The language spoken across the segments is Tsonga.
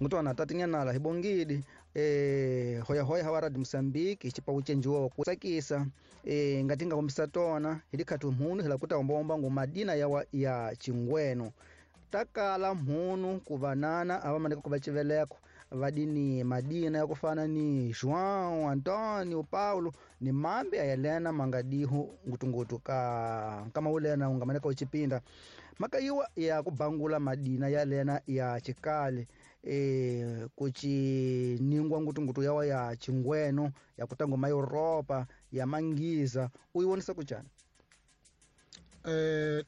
Ngutwana tatinyanala hi bongidi hoya hoya hawa Radio Mozambique hi xipawu cenjiwa ku tsakisa ngati nga kombisa tona hi dikhatu mhunu hi la kuta omba ngu madina yawa ya chingweno takala mhunu ku vanana ava maneka ku va civeleko vadini madina ya kufana ni João, Antônio, Paulo ni mambe ya Helena mangadihu ngutungutu ka kama ulena ungamaneka uchipinda makayiwa ya kubangula madina ya lena ya chikale kuchiningwa ngutungutu yawa ya chingweno ya kutango ma Europa ya mangiza uyiwonisa kuchana.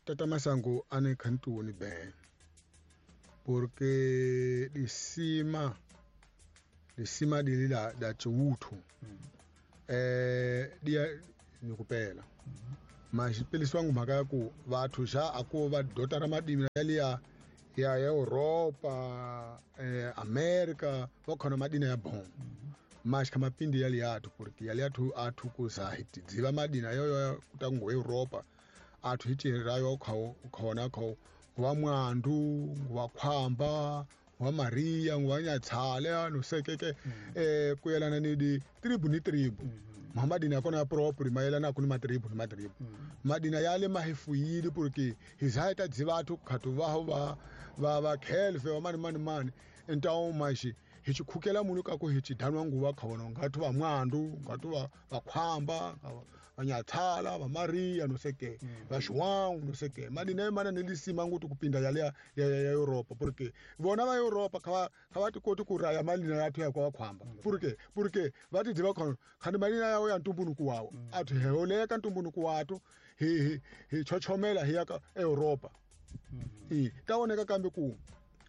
Tata Masango ane khantuni be porque disima dilila da chiwuthu dia nikupela mas peliswa mhaka ya ku vathu xa aku va dota ra madimi ya ya Europa America va khona madina ya bon mas kha mapindi ya liathu porque ya liathu athu kuza hitidziva madina yoyo kutango Europa athu hitirayo khona kho wa mwandu wa khwamba wa Maria wa Nyatshala no sekeke kuyelana ni di tribu ni tribu. Madina kona proper mayelana ku ni matribu ni matribu. Madina yale mahefuyile porque hizaita dzivathu khatu va va va khelfe wa mani mani mani entawo mashi hichikhukela munu ka ku hichidanwa nguva khona ngathu va mwandu ngathu va khwamba va Nyatshala va Maria no seke va João no seke madina mana ni lisima ngutu kupinda yale ya Europa porque vona va Europa kha va tikoti ku raya malina yathu ya kwa khwamba porque va ti dziva khona khani malina yawo ya ntumbunuku wawo athu heoleka ntumbunuku watu hi chochomela hi ya ka Europa ta woneka kambe ku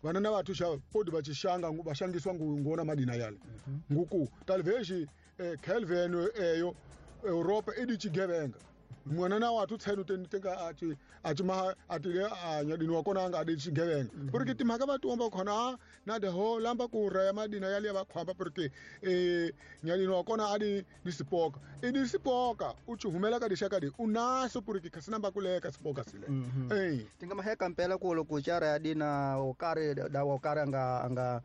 vana na vathu xa podi va xixanga va xangiswa ngona madina yale nguku talveshi Kelvin eyo Europa idi chigevenga mwana na wathu tsenu tenga ati ati atile anyadini wa kona anga adi chigevenga porque timhaka va tiomba khona na de ho lamba ku raya madina yale va khwamba porque nyadini wa kona adi ni sipoka idi sipoka u chihumela ka dixaka di unaso porque khasina ba kuleka sipoka sile tinga maheka mpela ku loko chara ya dina okare da okare anga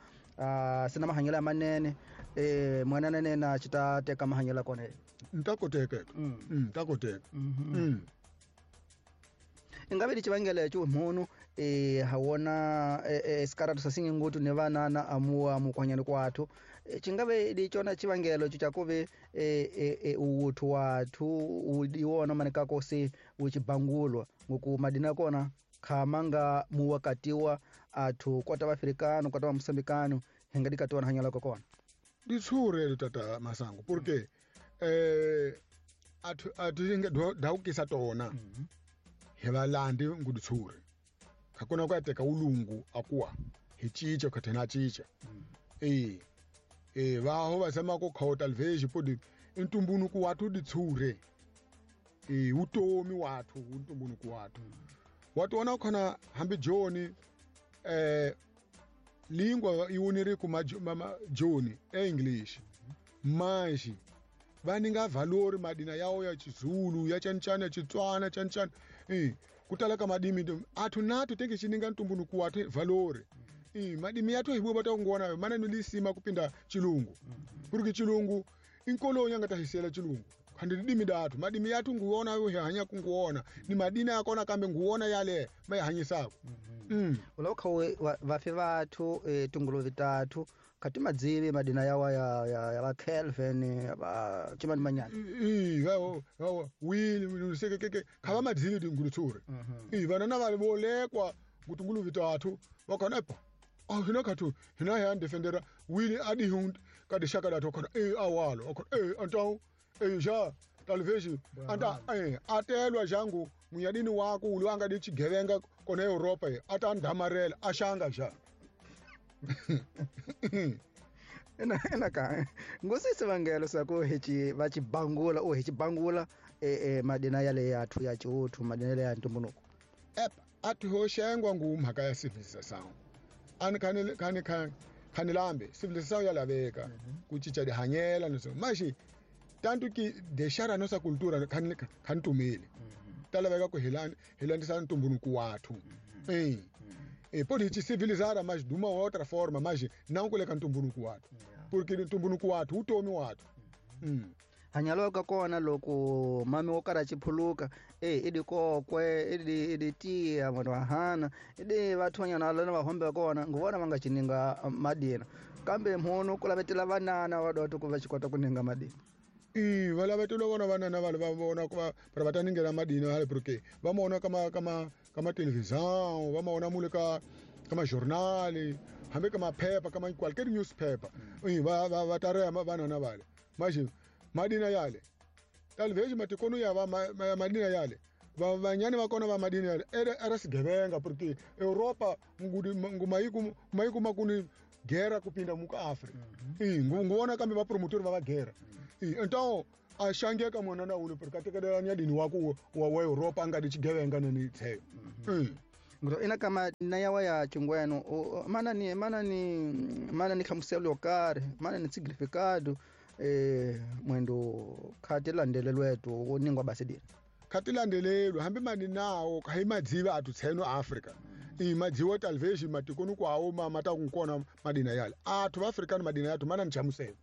sina mahanyela manene mwana nene na chita teka mahanyela kona ntakoteka ntakoteka ingabe lichivangela chu mhunu hawona sikaratu sasinge ngutu ne vanana amuwa mukwanyani kwathu chingabe lichona chivangelo chakuve uwuthu wathu udiwona manekako se uchibangulwa ngoku madina kona khamanga muwakatiwa athu kwata vaafrikano kwata vamusambikano hingadikatiwa na hanyala kokona ditshure tata Masango porque athu athu daukisa tona hi valandi nguditshure khakona ku ateka ulungu akuwa hi chicha khathena chicha vaho va zama ku khota lveji podi ntumbunuku wathu ditshure utomi wathu ntumbunuku wathu watu khona hambi joni lingua iwoneri ku mama joni English manji vaninga valori madina yawo ya Chizulu ya chanchana ya Chitswana chanchana kutala ka madimi athu nathu tenge chininga ntumbunuku wathu valori madimi yathu hibo batangona mana nilisima kupinda chilungu porque chilungu inkolonya ngatahisela chilungu khandi dimi dathu madimi yathu nguona yo hanya kunguona ni madina yakona kambe nguona yale mayihanyisako ulokho vafe vathu tunguluvi tathu khati madzivi madina yawa ya va Kelvin va chimani manyana wili sekeke khava madzivi tingulutsure vana na va volekwa ngutunguluvi tathu vakhona epa hina khathu hina ya defendera wili adi hund ka dishaka dathu khona awalo khona antau ja talveji anta atelwa jangu munyadini wako ulwanga di chigevenga kona Europa ata ndamarela ashanga ja ena ka ngosisi vangelo sako hechi va chibangula o hechi bangula madina yale yathu ya chiuthu madina yale ya ntumbunuku athu hoshengwa ngumhaka ya civilization ani khani lambe civilization yalaveka ku cinca dihanyela niso mashi tanto que deixar a nossa cultura khani tumile talaveka ku hilandisa ntumbunuku wathu Pode te civilizar mas de uma outra forma, mas não kuleka ntumbunuku wathu. Porque ntumbunuku wathu utomi wathu. Hanyaloka kona loko mami wo karhi a chiphuluka i dikokwe i tiya vanhu va hana i vathonyana lana va hombe kona nguvona va nga chininga madina kambe mhunu ku lavetela vanana va dota ku va xi kota ku ninga madina. Va lavetela vona vanana va va vona ku va va ta ningela madina hale porque va mona kama kama kama televisão, va mona mule ka kama jornal, hambi kama paper, kama qualquer newspaper. Va va va ta vanana vale. Mas madina yale talvez matikono ya va madina yale vanyani va kona va madina yale era sigevenga porque Europa ngumayiku mayiku makuni guerra kupinda muka Afrika. Nguona kambe va promotor va guerra. Então a xangeka mwana na ule porque atekelelani ya dini waku wa Europa anga dichigevenga nani tseyo. Ngro ina kama na yawa ya chingweno mana ni mana ni mana ni hlamuselo yo karhi mana ni significado mwendo khati landelelwetu ningwa basidira khati landelelwe hambi mani nawo khai madziva athu tseno Africa madziwa talvez matikoni kwawo mata kunkona madina yale athu Africa madina yathu mana nchamuselo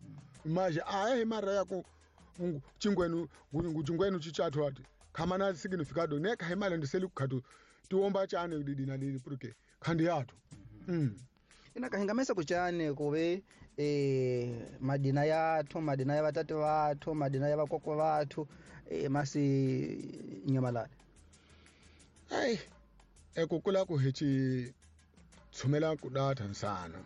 maje aye mara yako chingwenu chingwenu chichathu ati khamana significado ne khai malandiseli kukhatu tiomba chane didina lili porque khandi yathu. Ina kahingamesa kuchane kuve madina yathu madina ya vatati vathu madina ya vakokwa vathu masi nyamalala. Ai ekukula ku hichi tshumela ku data nsana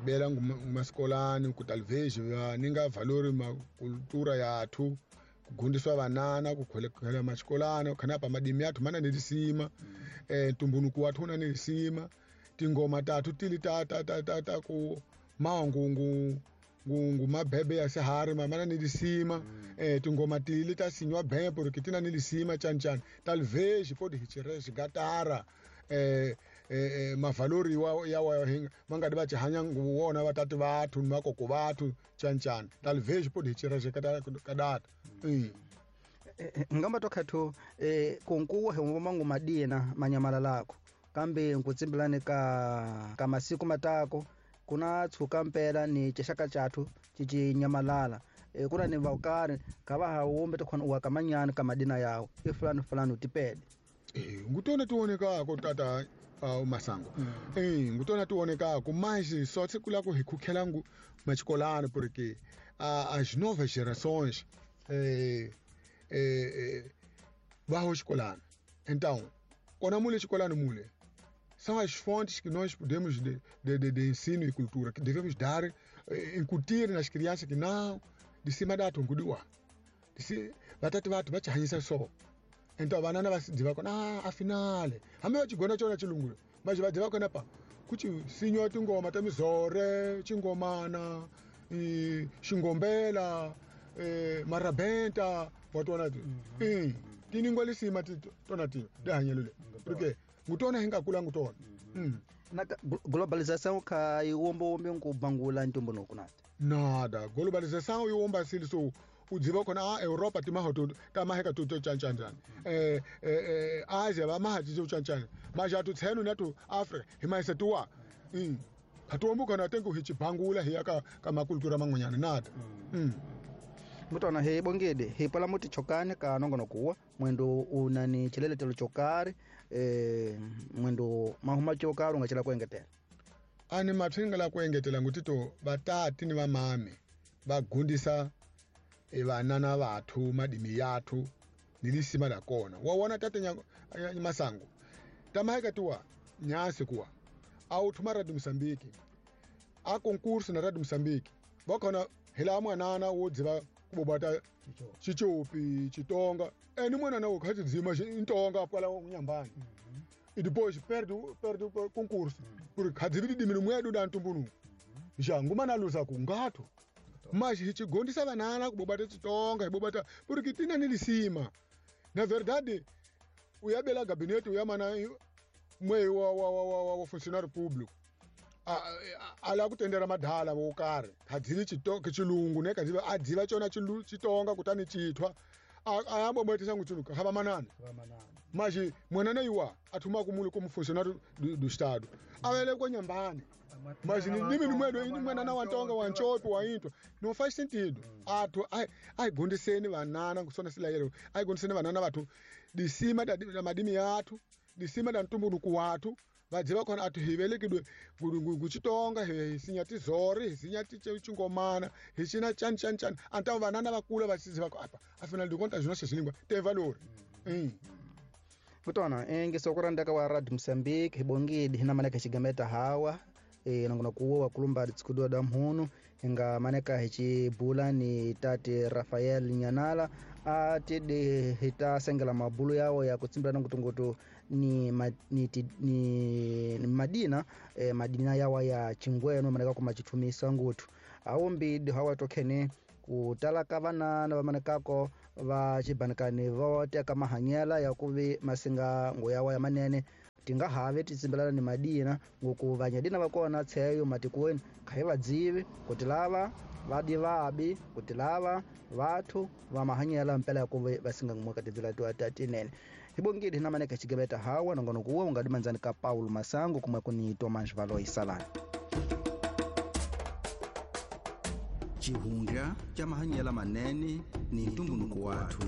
bela ngumasikolani ku talvez va ninga valori ma cultura yathu kugundiswa vanana kukholekela maxikolana khana pa madimi yathu mana ni lisima ntumbunuku wathu na ni lisima tingoma tathu tili ta ta ta ta ta ku maungu ngu mabebe ya sihari mana ni lisima tingoma tili ta sinywa bembe porque tina ni lisima chanchan talvez pode hichirezi gatara mavalori wa ya wa manga di bachihanya nguwona vatatu vathu ni makoko vathu chanchan talvez pode hichirezi kadata. Ngamba tokhathu kunkuwa he mangu madina manyamala lako kambe nkutsimbelani ka masiku matako kuna tshuka mpela ni chixaka chathu chichinyamalala kuna ni vaukari ka va hawumbe tokhona uwa kamanyani ka madina yawo i fulani fulani utipede. Ngutona tionekako tata Masango. Ngutona tionekako mas só se kula ku hikhukhela ngu maxikolano porque as novas gerações va ho xikolano. Então kona mule xikolano mule são as fontes que nós podemos de ensino e cultura que devemos dar, incutir nas crianças que não de cima da tungudiwa vatati vathu vachihanyisa so. Então vanana vadziva kona afinal hambi vachigona chona chilungu mas vadziva kona pa kuti sinywa tingoma ta mizore chingomana xingombela marabenta watona ti tiningwa lisima tona ti dihanyelo le porque ngutona hinga kula ngutona. Na globalização kha iwombo nkubangula ntumbunuku nati nada globalização iwomba sili so udziva khona a Europa timahoto tamaheka tuto chanchanjana Asia va mahaji chanchanjana maja tu tseno na tu Africa himaisa tuwa khatuombu khona tengu hichibangula hiya ka makultura man'wanyana nada. Ngutona he bongede he pala muti chokane ka nongono kuwa mwendo unani chileletelo chokari mwendo mahuma chokari ungachela kuengetela ani mathinga la kuengetela ngutito vatati ni vamami va gundisa vanana vathu madimi yathu ni lisima la kona wa wona tate Masango tamaheka tuwa nyasi kuwa au thuma Radio Mozambique a concurso na Radio Mozambique vakhona hila mwanana wo dziva kubobata chichopi chitonga eni mwanana wo khathi dzima intonga kwala unyambani e depois perde concurso porque khadzivi dimi mwedu da ntumbunu ja ngumana luza ku ngatho mas hichigondisa vanana kubobata chitonga ibobata porque tina ni lisima na verdade uyabela gabinete uyamana mwe wa funcionário público ala kutendera madhala wo karhi khadzivi chilungu ne khadzivi adziva chona chitonga kutani chithwa ayabobetisa nguchuluka hava manana Mas mwanana iwa athuma kumule como funcionário do estado avele kwa nyambani mas ndimi nimwedo ini mwanana wa ntonga wa nchopi wa into não faz sentido. Athu aigondeseni vanana kusona silayero aigondeseni vanana vathu disima da madimi yathu disima da ntumbuluko wathu vadziva khona athu hi velekidwe nguchitonga hi sinya tizori hi sinya chingomana hi cina chani chani chani antavo vanana vakula vachiziva ku apa afinal de contas nossas línguas tem valor. Kutona ngisokura wa Radio Mozambique hibongidi hina maneka xigameta hawa nangona kuwo wakulumba tsikudwa da mhunu hinga maneka hichibula ni tate Rafael Nyanala atidi hitasengela mabulu yawo ya kutsimbila nangutungutu ni, ma, ni, ni, ni madina madina yawa ya chingweno maneka kumachithumisa ngutu awo mbidi hawa tokhene kutalaka vanana vamanekako va xibanikani vo teka mahanyela ya kuvi masinga ngoyawa ya manene tingahave titsimbelana ni madina ngoku vanyadina va kona tsheyo matikweni kha hi vadzivi kuti lava vadi vabi kuti lava vathu va mahanyela mpela ya kuvi vasinga ngumwe ka tindzela tiwa ta tinene hibongidi hina maneka xigeveta hawa nongonoko wuwe ungadi mandzani ka Paulo Masango kumwe kuni Tomas Valoi Salani. Xihundla xa mahanyela manene ni ntumbuluko wathu.